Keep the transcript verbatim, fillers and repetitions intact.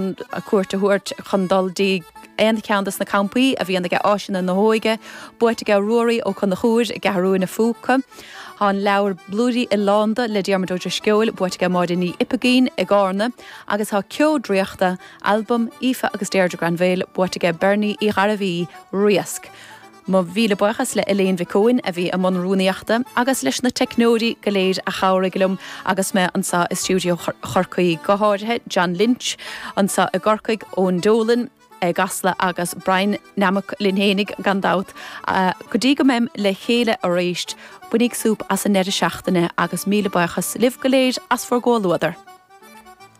ann cuairt a thabhairt chun dul dtí aon cheann de na campaí a bhíonn aige Áiseanna na hÓige, buaite aige Ruairí Ó Conchúir i gCeathrú na Fúca. Tá an leabhar Blúirí Oileánda le Diarmuid Ó Drisceoil buaite aige Máire Ní Oipeagaín i gCarna, agus tá Ceo Draíochta, albam Aoife agus Deirdre Granville buaite aige Bernie Uí Ghairbhí Riasc. Mo mhíle buíochas le Elaine Mhic Eoin a bhí i mbun rúnaíochta agus leis na teicneoirí go léir a chabhraigh liom agus mé anseo i stiúideo Chorcaí go háirithe John Lynch anseo i gCorcaigh ón Dolan i gCasla agus Brian Namach linn féinig gan dabht go dtí go mbeim le chéile arís bainigí súp as an deireadh seachtaine agus míle buíochas libh go léir as bhur gcomhluadar.